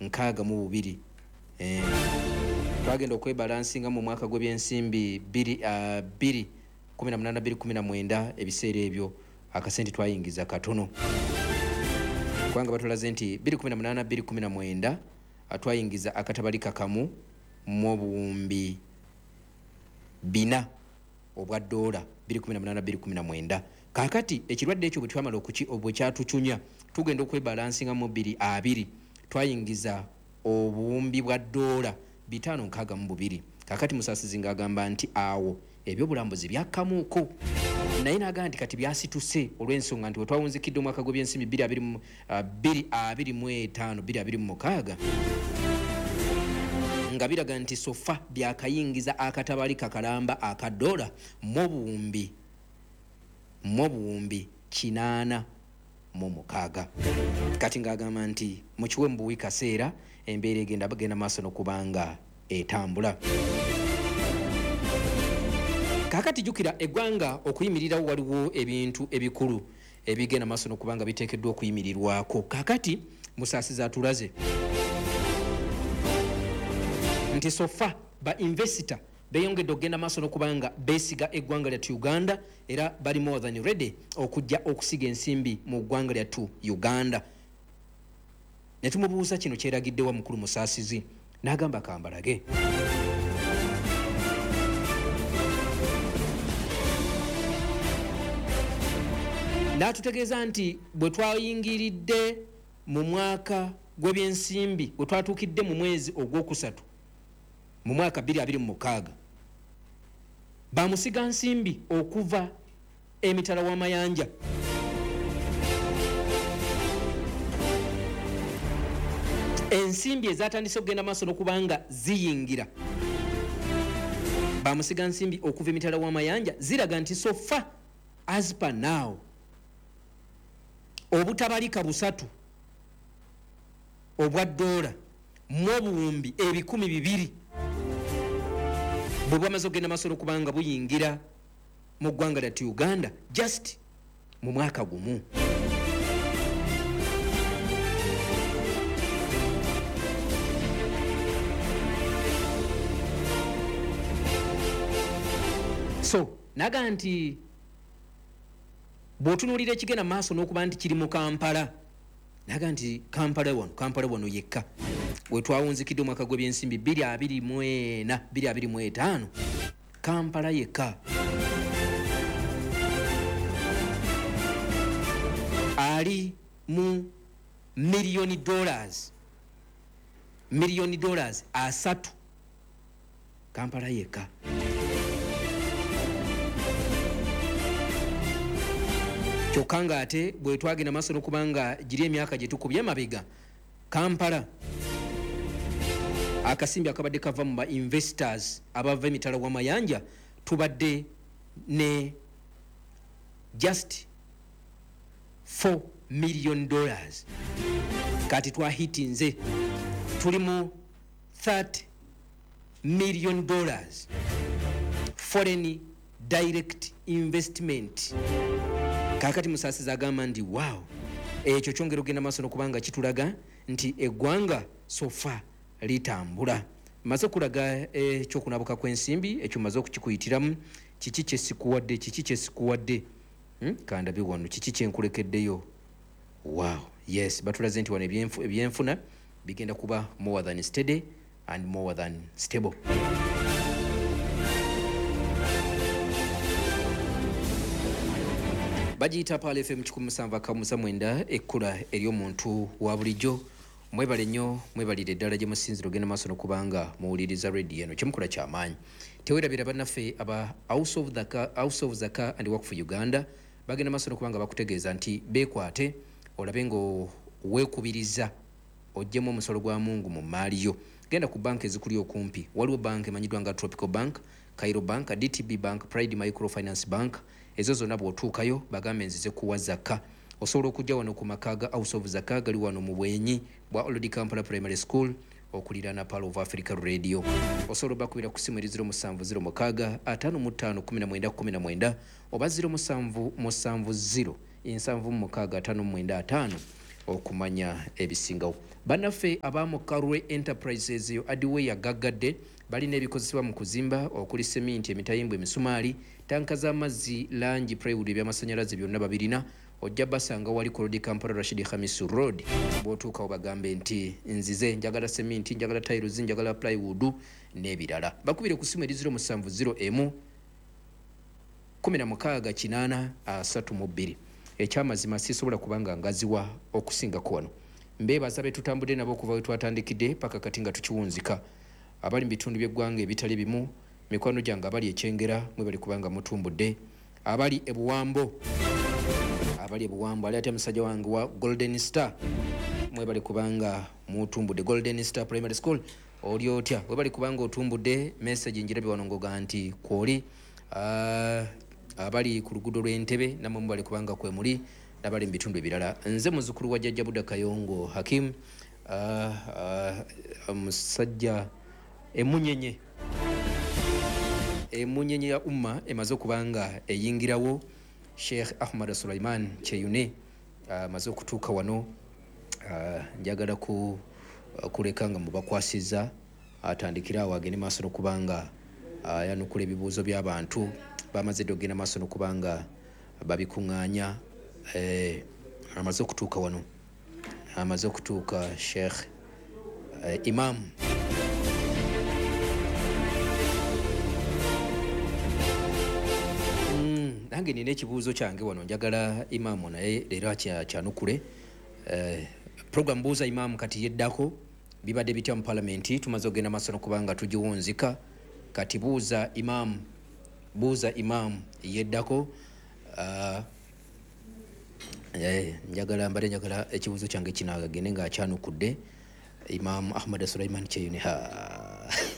62. Twagenda okwebalansinga mu mwaka gw'ebyensimbi 2 18 219. Ebiseera ebyo akasente twayingiza katono, kubanga batulaze nti 218 219 twayingiza akatabalika kamu mu obuwumbi bina obwa dola 218 219. Kakati ekirwadde ekyo bwe twamala bwe kyatucunya, tugenda okwebalansinga mu 220, twayingiza obuwumbi bwa dola 562. Kakati Musasizi ng'agamba nti awo ebyobulambuzi byakkamuuko, naye n'agamba nti kati byasituse olw'ensonga nti wetwawunzikidde omwaka gw'ebyensimbi 225 226, nga biraga nti so far byakayingiza akatabalika kalamba aka dola mu obuwumbi 86. Kati ng'agamba nti mukiwe mu buwi kaseera, embeera egenda bagenda maaso n'okubanga etambula. Kaakati jjukira, eggwanga okuyimirirawo waliwo ebintu ebikulu ebigenda maaso n'okubanga biteekeddwa okuyimirirwako. Kaakati Musaasizi atulaze nti so far ba investor beyongedde okugenda maaso n'okubanga beesiga eggwanga lyattu Uganda, era bali more than ready okujja okusiga ensimbi mu ggwanga lyattu Uganda. Ne tumubuuza kino kyeragiddewa mukulu Musaasizi, n'agamba kambalage. N'atutegeeza nti bwe twayingiridde mu mwaka gw'ebyensimbi, bwe twatuukidde mu mwezi ogwokusatu mu mwaka 2026, bamusiga nsimbi okuva emitala w'amayanja ensimbi ezatandise okugenda maaso n'okubanga ziyingira bamusiga nsimbi okuva emitala w'amayanja ziraga nti so far, as per now, obutabalika busatu obwa dola mu obuwumbi 200 bwe bwamaze okugenda maaso n'okubanga buyingira mu ggwanga lyattu Uganda just mu mwaka gumu. So naga nti bw'otunuulira ekigenda maaso n'okuba nti kiri mu Kampala, naga nti Kampala wano, Kampala wano yekka wetwawunzikidde omwaka gw'ebyensimbi 224 225, Kampala yekka ali mu miliyoni dollars, miliyoni dollars 30, Kampala yekka. Kyokka ng'ate bwe twagenda maaso n'okuba nga giri emyaka gye tukubye emabega, Kampala akasimbi akabadde kava mu ba investors abava emitala w'amayanja tubadde ne just $4 million. Kati twahitinze, tuli mu $30 million foreign direct investment. Kakati Musaasizi agamba nti wow, ekyo kyongera okugenda maaso n'okubanga kitulaga nti eggwanga so far litambula. Maze okulaga ekyokunabuka kw'ensimbi, ekyo maze okukikuyitiramu. Kiki kyesikuwadde? Kiki kyesikuwadde? Kandabe wano kiki kyenkulekeddeyo. Wow, yes, batulaze nti wano ebyenfuna bigenda kuba more than steady and more than stable. Bagiyita Pearl FM 107.9, ekkula ery'omuntu wa bulijjo. Mwebale nnyo, mwebalire ddala gye musinzira ogenda maaso n'okubanga muwuliriza rediyo eno. Kyemukola kyamaanyi. Tewerabira bannaffe aba House of Zaka and Work for Uganda bagenda maaso n'okubanga bakutegeeza nti beekwate olabe nga weekubiriza oggyemu omusolo gwa Mungu mu maali yo. Genda ku banka ezikuli okumpi. Waliwo banka emanyiddwa nga Tropical Bank, Cairo Bank, DTB Bank, Pride Microfinance Bank. Ezo zonna bw'otuukayo bagambe nzize kuwa zaka. Osobola okujja wano ku maka ga House of Zaka, gali wano mu bwenyi bwa Old Kampala Primary School okuliraana Pearl of Africa Radio. Osobola obakubira ku simu eri 0706 55 19 19 oba 0770 76 59 5. okumanya ebisingawo. Bannaffe aba Mukarwe Enterprises eyo Adiweya gaggadde balina ebikozesebwa mu kuzimba okuli seminti, emitayimbwa, emisumaali, tanka z'amazzi, langi, plywood, ebyamasannyalaze byonna babirina. Ojja basanga wali ku Road Kampala Rashid Hamisu Road. Bw'otuukawo bagambe nti nzize njagala seminti, njagala tiles, njagala plywood n'ebirala. Bakubire ku ssimu eri 0701 16 832. Ekyamazima sisobola kubanga ngaziwa okusingako wano. Mbeebaza be tutambudde nabo okuva we twatandikidde paka kati nga tukiwunzika. Abali mu bitundu by'eggwanga ebitali bimu, mikwano gyange abali e Kyengera mwebale kubanga mutumbudde. Abali e Buwambo, abali e Buwambo, ali atya musajja wange wa Golden Star, mwebale kubanga mutumbudde. Golden Star Primary School, oli otya? Webale kubanga otumbudde. Message njirabye wano ngoga nti kwoli. Abali ku luguudo lw'Entebe namwe mubale kubanga kwe muli, n'abali mu bitundu ebirala. Nze muzzukulu wa Jjajja Buda Kayongo Hakim, musajja emunyenye emunyenye ya umma emaze okuba nga eyingirawo. Sheikh Ahmad Sulaiman Kyeyune amaze okutuuka wano. Njagala kuleka nga mubakwasiza atandikire awo agende maaso n'okuba nga ayanukula ebibuuzo by'abantu. Bamaze dda okugenda maaso n'okuba nga babikuŋŋaanya. Amaze okutuuka wano, amaze okutuuka Sheikh Imam. Nange nina ekibuuzo kyange wano, njagala imaamu naye leero akyanukule. Program Buuza Imaamu kati yeddako. Bibadde bitya mu palamenti? Tumaze okugenda maaso n'okuba nga tugiwunzika. Kati buuza imaamu, buuza imaamu yeddako. Njagala mbadde njagala ekibuuzo kyange kino agende ng'akyanukudde Imaamu Ahmad Sulaiman Kyeyune.